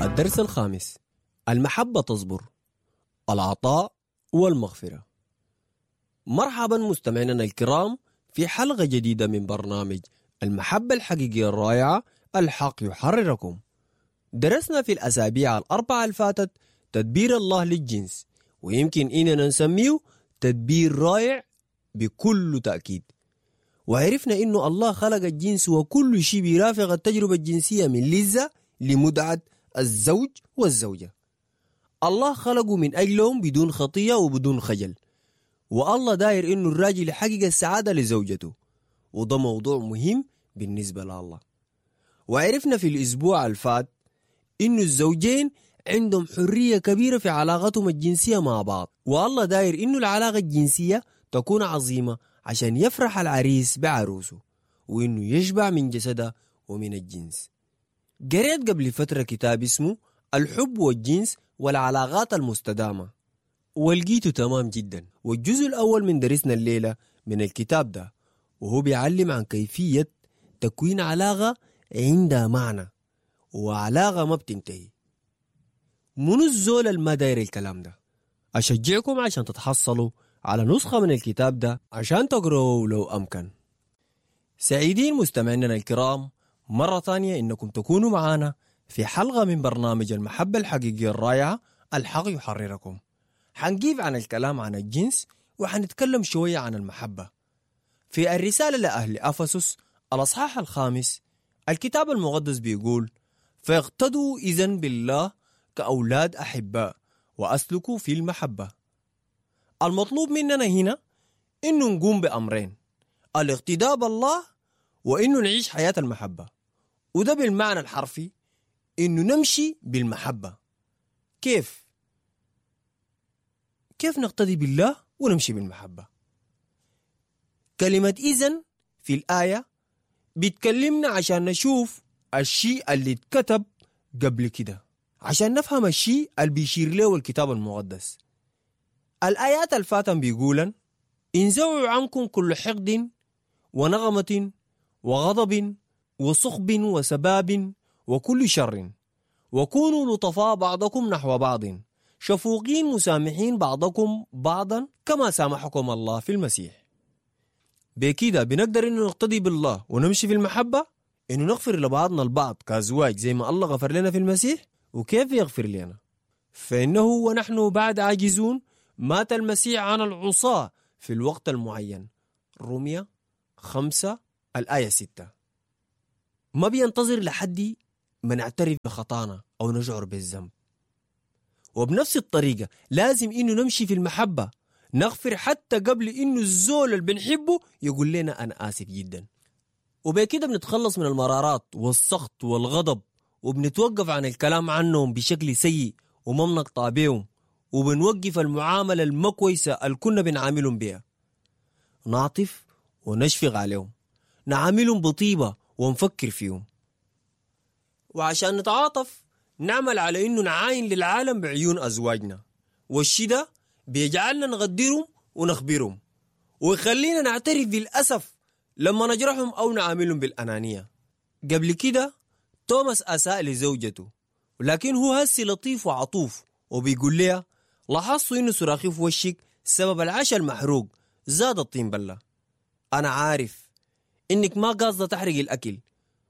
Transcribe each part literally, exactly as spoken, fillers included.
الدرس الخامس: المحبة تصبر، العطاء والمغفرة. مرحبا مستمعينا الكرام في حلقة جديدة من برنامج المحبة الحقيقية الرائعة، الحق يحرركم. درسنا في الأسابيع الأربعة الفاتت تدبير الله للجنس، ويمكن إننا نسميه تدبير رائع بكل تأكيد. وعرفنا إنه الله خلق الجنس وكل شيء بيرافق التجربة الجنسية من لذة لمتعة الزوج والزوجة. الله خلقه من أجلهم بدون خطية وبدون خجل، والله داير إنه الراجل يحقق السعادة لزوجته، وده موضوع مهم بالنسبة لله. وعرفنا في الأسبوع الفات إنه الزوجين عندهم حرية كبيرة في علاقتهم الجنسية مع بعض، والله داير إنه العلاقة الجنسية تكون عظيمة عشان يفرح العريس بعروسه وإنه يشبع من جسده ومن الجنس. قريت قبل فترة كتاب اسمه الحب والجنس والعلاقات المستدامة، ولقيته تمام جدا. والجزء الأول من درسنا الليلة من الكتاب ده، وهو بيعلم عن كيفية تكوين علاقة عندها معنى وعلاقة ما بتنتهي. منو الزول الما داير الكلام ده؟ أشجعكم عشان تتحصلوا على نسخة من الكتاب ده عشان تقرأوه لو أمكن. سعيدين مستمعينا الكرام مرة ثانية إنكم تكونوا معانا في حلقة من برنامج المحبة الحقيقية الرائعة، الحق يحرركم. حنجيب عن الكلام عن الجنس وحنتكلم شوية عن المحبة. في الرسالة لأهل أفسس الأصحاح الخامس، الكتاب المقدس بيقول: فاقتدوا إذن بالله كأولاد أحباء وأسلكوا في المحبة. المطلوب مننا هنا إنه نقوم بأمرين: الاقتداء بالله وإنه نعيش حياة المحبة. وده بالمعنى الحرفي إنه نمشي بالمحبة. كيف؟ كيف نقتدي بالله ونمشي بالمحبة؟ كلمة إذن في الآية بتكلمنا عشان نشوف الشيء اللي اتكتب قبل كده، عشان نفهم الشيء اللي بيشير له الكتاب المقدس. الآيات الفاتن بيقولن: انزعوا عنكم كل حقد ونغمة وغضب وصخب وسباب وكل شر، وكونوا لطفاء بعضكم نحو بعض، شفوقين مسامحين بعضكم بعضا كما سامحكم الله في المسيح. بكده بنقدر إنه نقتدي بالله ونمشي في المحبة، إنه نغفر لبعضنا البعض كأزواج زي ما الله غفر لنا في المسيح. وكيف يغفر لنا؟ فإنه ونحن بعد عاجزون مات المسيح عن العصاة في الوقت المعين. رومية خمسة الآية ستة. ما بينتظر لحد ما نعترف بخطانا أو نشعر بالذنب. وبنفس الطريقة لازم إنه نمشي في المحبة، نغفر حتى قبل إنه الزول اللي بنحبه يقول لنا أنا آسف جدا. وبكده بنتخلص من المرارات والسخط والغضب، وبنتوقف عن الكلام عنهم بشكل سيء وما بنقطع بيهم، وبنوقف المعاملة المكويسة اللي كنا بنعاملهم بيها. نعطف ونشفق عليهم، نعاملهم بطيبة ونفكر فيهم. وعشان نتعاطف نعمل على إنه نعاين للعالم بعيون أزواجنا، والشي ده بيجعلنا نغدرهم ونخبرهم، ويخلينا نعترف بالأسف لما نجرحهم أو نعاملهم بالأنانية. قبل كده توماس أساء لزوجته، ولكن هو هسي لطيف وعطوف وبيقول لها: لاحظت إنه صراخي في وشك سبب العشاء المحروق زاد الطين بلة. أنا عارف إنك ما قاصدة تحرقي الأكل،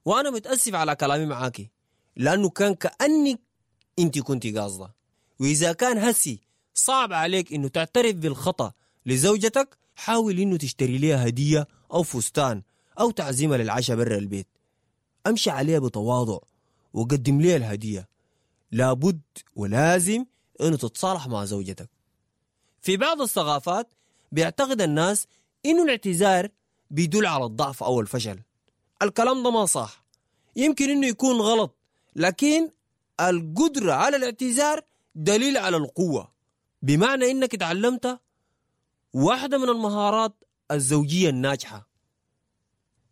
وأنا متأسف على كلامي معاكي لأنه كان كأنك أنت كنت قاصدة. وإذا كان هسي صعب عليك إنه تعترف بالخطأ لزوجتك، حاول إنه تشتري لها هدية أو فستان أو تعزيمة للعشاء برا البيت. أمشي عليها بتواضع وقدم لها الهدية. لابد ولازم إنه تتصالح مع زوجتك. في بعض الثقافات بيعتقد الناس إنه الاعتذار بيدل على الضعف أو الفشل. الكلام ده ما صح، يمكن إنه يكون غلط، لكن القدرة على الاعتذار دليل على القوة، بمعنى إنك تعلمت واحدة من المهارات الزوجية الناجحة.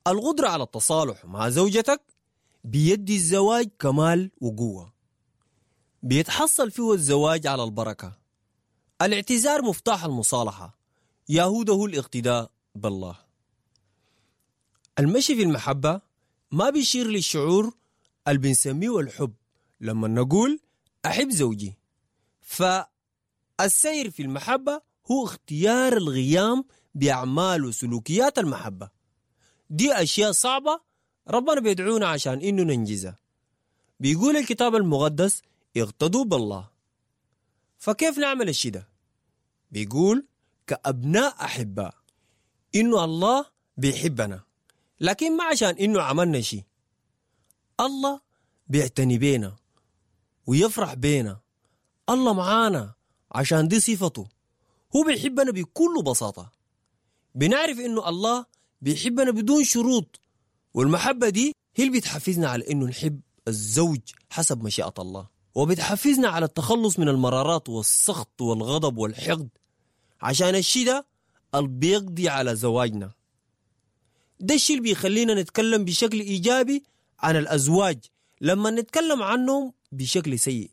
القدرة على التصالح مع زوجتك بيدي الزواج كمال وقوة، بيتحصل فيه الزواج على البركة. الاعتذار مفتاح المصالحة، يهوده الاقتداء بالله. المشي في المحبة ما بيشير للشعور اللي بنسميه الحب، لما نقول أحب زوجي، فالسير في المحبة هو اختيار الغيام بأعمال وسلوكيات المحبة. دي أشياء صعبة ربنا بيدعونا عشان إنه ننجزها. بيقول الكتاب المقدس اغتدوا بالله. فكيف نعمل الشيء ده؟ بيقول كأبناء أحباء، إنه الله بيحبنا، لكن ما عشان إنه عملنا شيء. الله بيعتني بينا ويفرح بينا، الله معانا عشان دي صفته. هو بيحبنا بكل بساطة. بنعرف إنه الله بيحبنا بدون شروط، والمحبة دي هي اللي بتحفزنا على إنه نحب الزوج حسب مشيئة الله، وبتحفزنا على التخلص من المرارات والسخط والغضب والحقد، عشان الشيء ده اللي بيقضي على زواجنا. ده الشيء اللي بيخلينا نتكلم بشكل إيجابي عن الأزواج لما نتكلم عنهم بشكل سيء،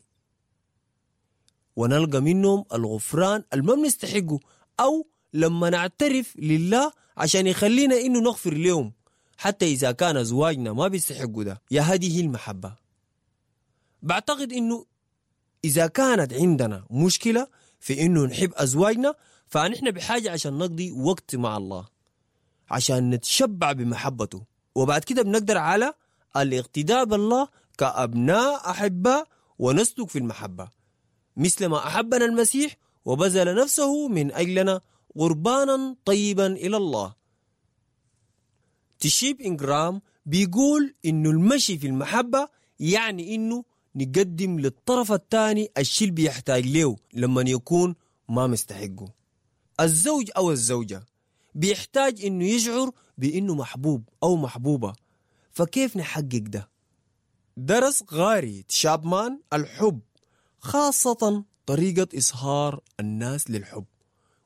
ونلقى منهم الغفران اللي ما بنستحقه، أو لما نعترف لله عشان يخلينا إنه نغفر لهم حتى إذا كان أزواجنا ما بيستحقوا ده. يا هذه المحبة. بعتقد إنه إذا كانت عندنا مشكلة في إنه نحب أزواجنا، فنحن بحاجة عشان نقضي وقت مع الله عشان نتشبع بمحبته، وبعد كده بنقدر على الاقتداء بالله كأبناء أحباء ونسلك في المحبة مثل ما أحبنا المسيح وبذل نفسه من أجلنا قربانا طيبا إلى الله. تشيب إنجرام بيقول إنه المشي في المحبة يعني إنه نقدم للطرف الثاني الشيء اللي بيحتاج له لما يكون ما مستحقه. الزوج أو الزوجة بيحتاج إنه يشعر بإنه محبوب أو محبوبة، فكيف نحقق ده؟ درس غاري تشابمان الحب، خاصة طريقة إظهار الناس للحب،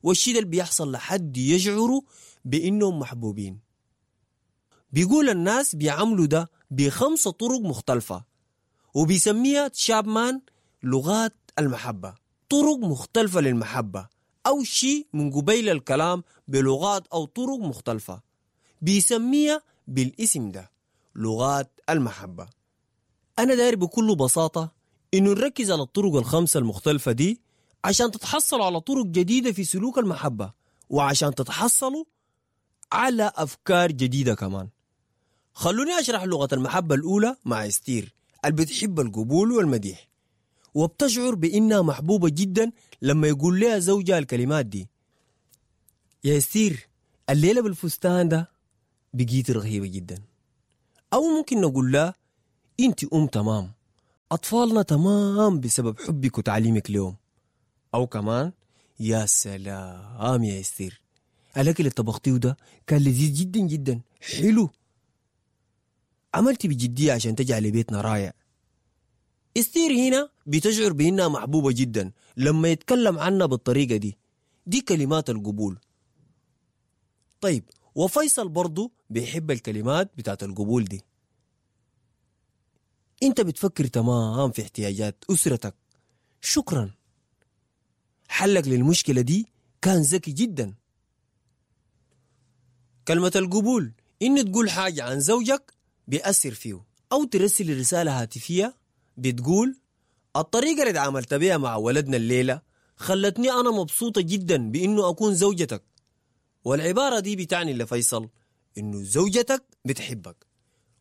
والشيء اللي بيحصل لحد يشعروا بإنهم محبوبين. بيقول الناس بيعملوا ده بخمسة طرق مختلفة، وبيسميها تشابمان لغات المحبة. طرق مختلفة للمحبة أو شيء من قبيل الكلام بلغات أو طرق مختلفة، بيسميها بالاسم ده لغات المحبة. أنا داير بكل بساطة إنه نركز على الطرق الخمسة المختلفة دي عشان تتحصلوا على طرق جديدة في سلوك المحبة، وعشان تتحصلوا على أفكار جديدة كمان. خلوني أشرح لغة المحبة الأولى مع استير اللي بتحب القبول والمديح، وبتشعر بإنها محبوبة جدا لما يقول لها زوجها الكلمات دي: يا استير، الليلة بالفستان ده بقيت رهيبة جدا. أو ممكن نقول لها: أنت أم تمام، أطفالنا تمام بسبب حبك وتعليمك لهم. أو كمان: يا سلام يا استير، الأكل اللي طبختيه ده كان لذيذ جدا جدا، حلو، عملتي بجدية عشان تجعل بيتنا رائع. استير هنا بتشعر بأنها محبوبة جدا لما يتكلم عنها بالطريقة دي. دي كلمات القبول. طيب، وفيصل برضو بيحب الكلمات بتاعت القبول دي. انت بتفكر تمام في احتياجات أسرتك، شكرا، حلك للمشكلة دي كان ذكي جدا. كلمة القبول إن تقول حاجة عن زوجك بيأثر فيه، أو ترسل رسالة هاتفية بتقول: الطريقة اللي تعاملت بها مع ولدنا الليلة خلتني أنا مبسوطة جدا بإنه أكون زوجتك. والعبارة دي بتعني لفيصل إنه زوجتك بتحبك،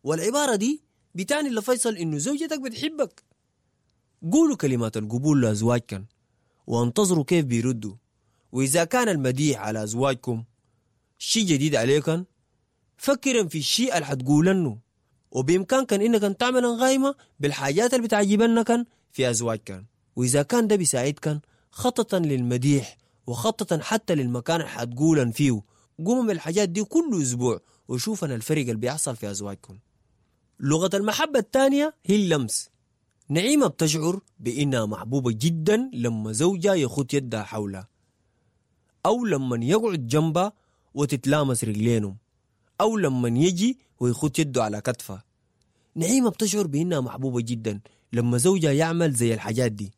والعبارة دي بتعني لفيصل إنه زوجتك بتحبك. قولوا كلمات القبول لأزواجكم وانتظروا كيف بيردوا. وإذا كان المديح على أزواجكم شيء جديد عليكم، فكرا في الشيء اللي حتقولنه، وبإمكانكم إنكم تعملن غايمة بالحاجات اللي بتعجبنكم في أزواجكم. وإذا كان ده بيساعدكم، خططا للمديح وخططا حتى للمكان اللي حتقولن فيه. قوموا بالحاجات دي كل أسبوع وشوفن الفرق اللي بيحصل في أزواجكم. لغة المحبة الثانية هي اللمس. نعيمة بتشعر بإنها محبوبة جدا لما زوجها يخط يدها حولها، أو لما يقعد جنبها وتتلامس رجلينهم، أو لما يجي ويخط يده على كتفها. نعيمة بتشعر بإنها محبوبة جدا لما زوجها يعمل زي الحاجات دي،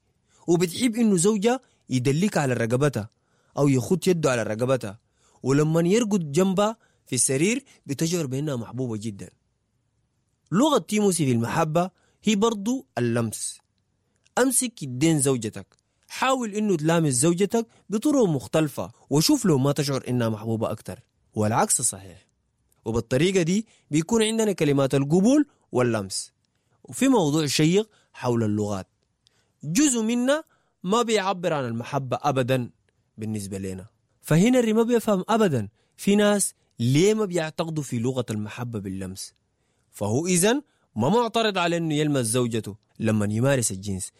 وبتحب إنه زوجها يدلك على رقبتها أو يخط يده على رقبتها، ولما يرقد جنبها في السرير بتشعر بإنها محبوبة جدا. لغة تيموسي في المحبة هي برضو اللمس. أمسك يدين زوجتك، حاول إنه تلامس زوجتك بطرق مختلفة وشوف لو ما تشعر إنها محبوبة أكتر، والعكس صحيح. وبالطريقة دي بيكون عندنا كلمات القبول واللمس. وفي موضوع شيق حول اللغات، جزء منا ما بيعبر عن المحبة أبدا بالنسبة لنا، فهنري ما بيفهم أبدا في ناس ليه ما بيعتقدوا في لغة المحبة باللمس. فهو إذن ما معترض على أنه يلمس زوجته لما يمارس الجنس،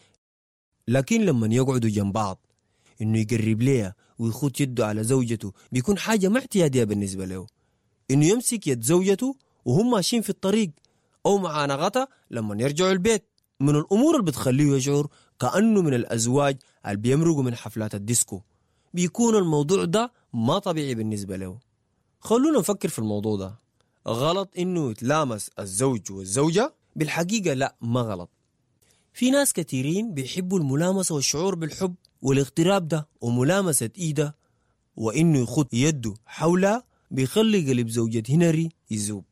لكن لما يقعدوا جنب بعض إنه يقرب ليها ويخط يده على زوجته بيكون حاجة ما اعتيادية بالنسبة له. إنه يمسك يد زوجته وهم ماشيين في الطريق أو معانقتها لما يرجعوا البيت، من الأمور اللي بتخليه يشعر كأنه من الأزواج اللي بيمرقوا من حفلات الديسكو. بيكون الموضوع ده ما طبيعي بالنسبة له. خلونا نفكر في الموضوع ده. غلط إنه يتلامس الزوج والزوجة؟ بالحقيقة لا، ما غلط. في ناس كثيرين بيحبوا الملامسة والشعور بالحب والاغتراب ده، وملامسة إيده وإنه يخط يده حولها بيخلي قلب زوجة هنري يذوب،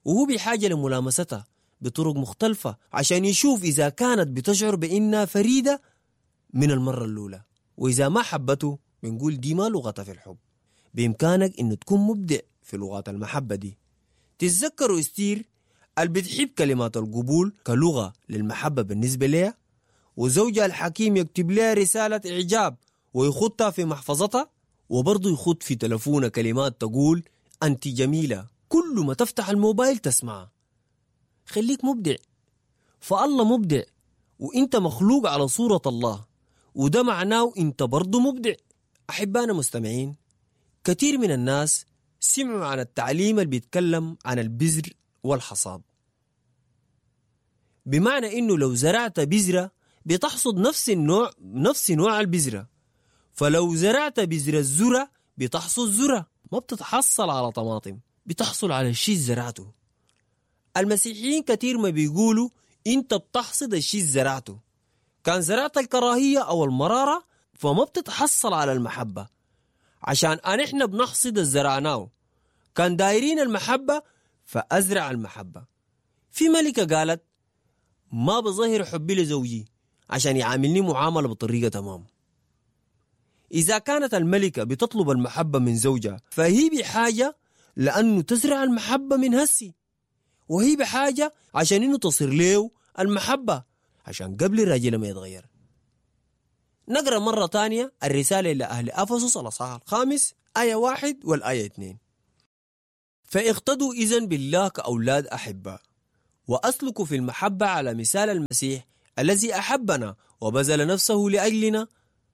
وهو بحاجة لملامستها بطرق مختلفة عشان يشوف إذا كانت بتشعر بإنها فريدة من المرة الأولى. وإذا ما حبته بنقول دي ما لغتها في الحب. بإمكانك إنه تكون مبدع في لغات المحبة دي. تتذكروا استير اللي بتحب كلمات القبول كلغة للمحبة بالنسبة لها، وزوجها الحكيم يكتب لها رسالة إعجاب ويخطها في محفظتها، وبرضه يخط في تلفونه كلمات تقول أنت جميلة كل ما تفتح الموبايل تسمعها. خليك مبدع، فالله مبدع وإنت مخلوق على صورة الله، وده معناه إنت برضه مبدع. أحبانا مستمعين، كثير من الناس سمعوا عن التعليم اللي بيتكلم عن البذر والحصاد، بمعنى إنه لو زرعت بذرة بتحصد نفس النوع، نفس نوع البذرة، فلو زرعت بذرة الذرة بتحصد ذرة، ما بتتحصل على طماطم، بتحصل على الشيء زرعته. المسيحيين كثير ما بيقولوا انت بتحصد الشيء زرعته. كان زرعت الكراهية أو المرارة فما بتتحصل على المحبة، عشان احنا بنحصد الزرعناه. كان دايرين المحبة فأزرع المحبة. في ملكة قالت ما بظهر حبي لزوجي عشان يعاملني معاملة بطريقة تمام. إذا كانت الملكة بتطلب المحبة من زوجها فهي بحاجة لأنه تزرع المحبة من هسي، وهي بحاجة عشان إنه تصير له المحبة عشان قبل الراجل ما يتغير. نقرأ مرة تانية الرسالة إلى أهل أفسس الأصحاح الخامس آية واحد والآية اثنين. فاقتدوا إذن بالله كأولاد أحبة، وأسلكوا في المحبة على مثال المسيح الذي أحبنا وبذل نفسه لأجلنا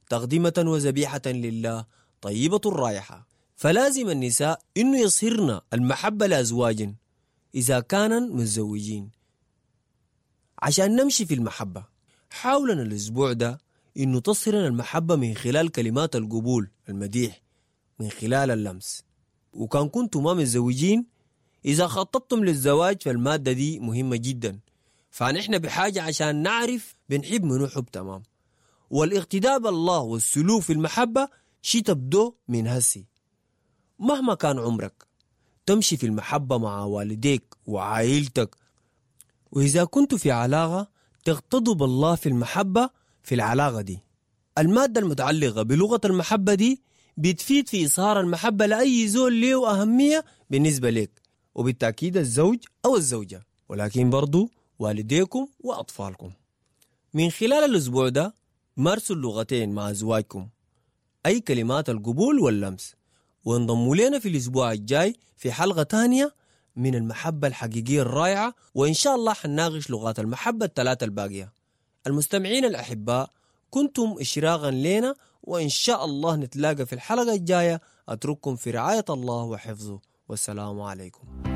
تقدمة وذبيحة لله طيبة الرائحة. فلازم النساء إنه يصهرن المحبة لأزواجن إذا كانوا متزوجين عشان نمشي في المحبة. حاولنا الأسبوع ده إنه تصهرن المحبة من خلال كلمات القبول، المديح، من خلال اللمس. وكان كنتم ما متزوجين، إذا خططتم للزواج فالمادة دي مهمة جدا، فنحن بحاجة عشان نعرف بنحب منو حب تمام. والاقتداء بالله والسلوك في المحبة شي تبدو من هسي. مهما كان عمرك تمشي في المحبة مع والديك وعائلتك، وإذا كنت في علاقة تقتدوا بالله في المحبة في العلاقة دي. المادة المتعلقة بلغة المحبة دي بتفيد في إظهار المحبة لأي زول له أهمية بالنسبة لك، وبالتأكيد الزوج أو الزوجة، ولكن برضو والديكم وأطفالكم. من خلال الأسبوع ده مارسوا اللغتين مع أزواجكم، أي كلمات القبول واللمس، وانضموا لنا في الأسبوع الجاي في حلقة تانية من المحبة الحقيقية الرائعة، وإن شاء الله حنناقش لغات المحبة الثلاثة الباقية. المستمعين الأحباء، كنتم إشراقا لنا، وإن شاء الله نتلاقى في الحلقة الجاية. أترككم في رعاية الله وحفظه، والسلام عليكم.